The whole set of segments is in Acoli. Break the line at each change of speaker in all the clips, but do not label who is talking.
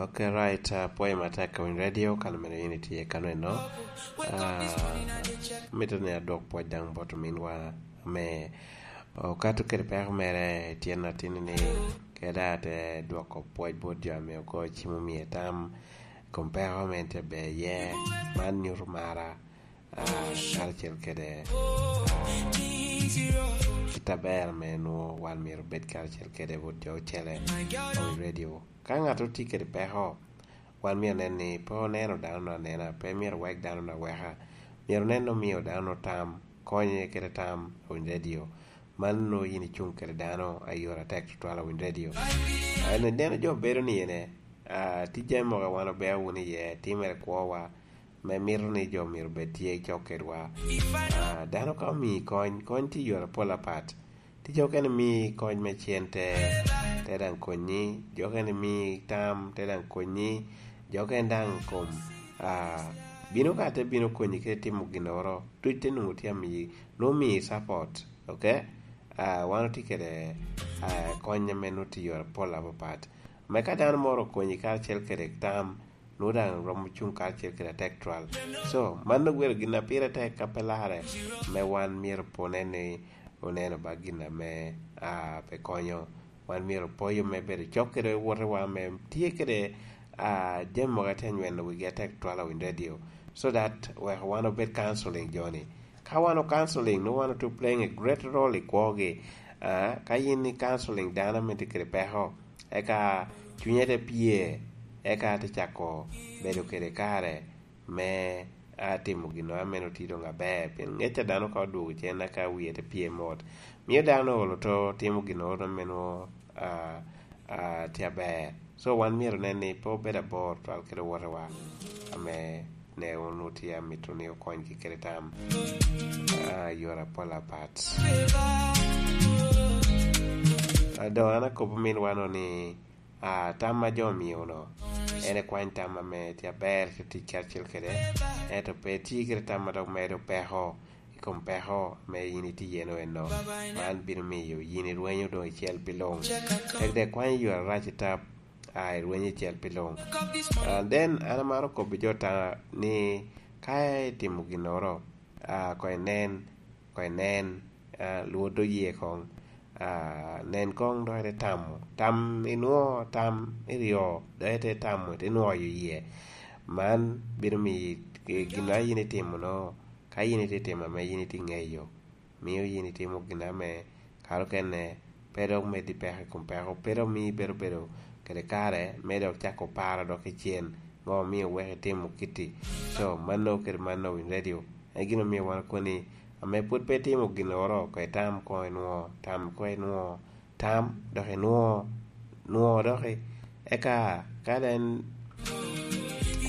Okay right apwoyo matek ka winy radio ka lumene in itye kano eno mito ni adwok pwoc dang bot ominwa me okato kede peko mere tyen atini ni kede ate dwoko pwoc bot jo ame ogoyo cim omiye tam i kom peko me en tye ber iye man nyuto mara karacel kede kit aber me nwo wan myero obed karacel kede bot jo ocele ma wi radio. Ka ngat tye kwede peko, wan myero nen ni pe oneno dano-nu anena, pe myero owek dano-nu aweka. Myero onen ni omiyo dano-nu tam, konye kede tam owiny redio. Man nongo in icung kwede dano ayot atek tutwal owiny redio. Ineno jo bedo ni ene, tye jami mogo wan wabedo wunu iye, timere kwowa me mito ni jo myero obed tye cok kedwa. Dano ka omiyi kony, kony tye i yore mapol apat. Tye jo mukene miyi kony me cente te dang konyi, jo mukene miyi tam te dang konyi, jo mukene dang kom bino ka te bino konyi ki timo ginoro duc te nongo tye amiyi nongo miyi capot ok wan watye kwede kony me nongo tye i yore mapol mapapat me ka dano mo okonyi kacel kwede tam nongo dang romo cung kacel kwede atek twal so man nongo obedo gin ma pire tek ka pe lare me wan myero pe onen ni Wuneno ba gin ame a pe konyo. Wan myero opoyo me bedo cok kede wotewa me tye kede a jami mogo atye anyweno wigi atek twal awiny radio so that weko wan obed counseling jo ni. Ka wan o counseling nongo wan otye playing a great role i kwo gi. A ka in i counseling dano me tye kede peko eka cwinye te pye eka te cako bedo kede kare me a timo gin ma meno tye dong aber pien ngec pa dano ka odwogo cen aka wiye te pye mot miyo dano olo to timo gin ma meno tye aber so wan myero onen ni pe wabedo abor twal ki luwotewa me ne onongo tye amito ni okony ki kede tam yore apol apat dong an akobo minwa no ni Tam ma jo omiyo no en ekwany tam ma me tye aber ki tic kacel kwede ento pe iti ki tam ma dok medo peko i kom peko me in itye iye no eno man bino miyo in irwenyo dong icel pi lung tek dong ikwanyo yo arac itap a irwenyo icel pi lung then an amaro kobo jo ta ni ka itimo ginoro kong inen Kong inen, lwod oye kong, nen kong dok ite tamo, tam inwo, tam iryo dok ite tamo ite nwoyo iye. Man bino miyi gin ma in itimo no ka in itye timo ame in itye ngeyo miyo in itimo gin ame kare okene pe dok medi peko i kom peko pe dok miyi bedo bedo kede kare me dok cako paro dok ki cen ngo miyo weko itimo kiti co mano kede mano winy radio. En gin omiyo wan koni ame pwod pe itimo ginoro ko itam kong inwo, tam kong inwo, tam dok inwo, nwo doki eka ka dong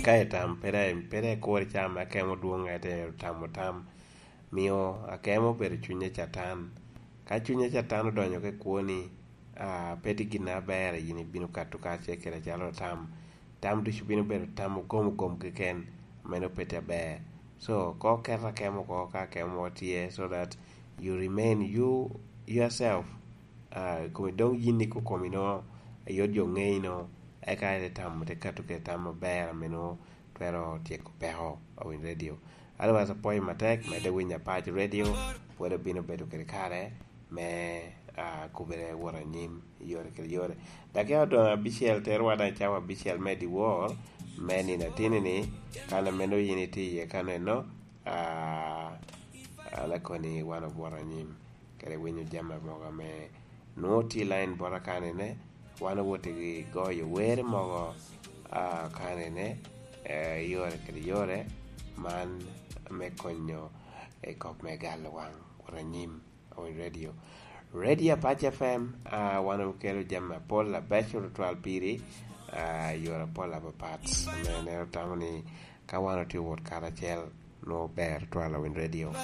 ka itam pe dong pe dong ikuri ca ma akemo dwong aye te tamo tam miyo akemo obedo cwiny me catan ka cwiny me catan odonyo ki kwoni pe tye gin aber in ibino kato kacel kwede calo tam Tam ducu bino bedo tam ogom ogom keken, meno pe tye aber. So, ko ket akemo oko ka akemo mo tye so that you remain you yourself uh, komi dong yini kukomi no ayot jo ngeyi no eka ite tamo te keto kede tam maber meno twero tyeko peko awiny radio. Otherwise apwoyo matek medde winyo Apac radio pwod abino bedo kede kare me uh, kubere wot anyim. yore kede yore. Dakika odong abicel terowa dong i cawa abicel me dyewor me nino atini-ni, kane meno in itye iye kano eno, lakoni wan obwoto anyim kede winyo jami mogo me nongo tye i lain bota kanene, wan owoti ki goyo wer mogo kanene yore kede yore man me konyo i kop me galo wang wot anyim. Owiny Radio. Radio Apac FM uh, wan okelo jami mapol labeco tutwal piri uh, yore mapol mapapat. Me neno tamo ni ka wan otye wot karacel nongo ber tutwal Owiny Radio.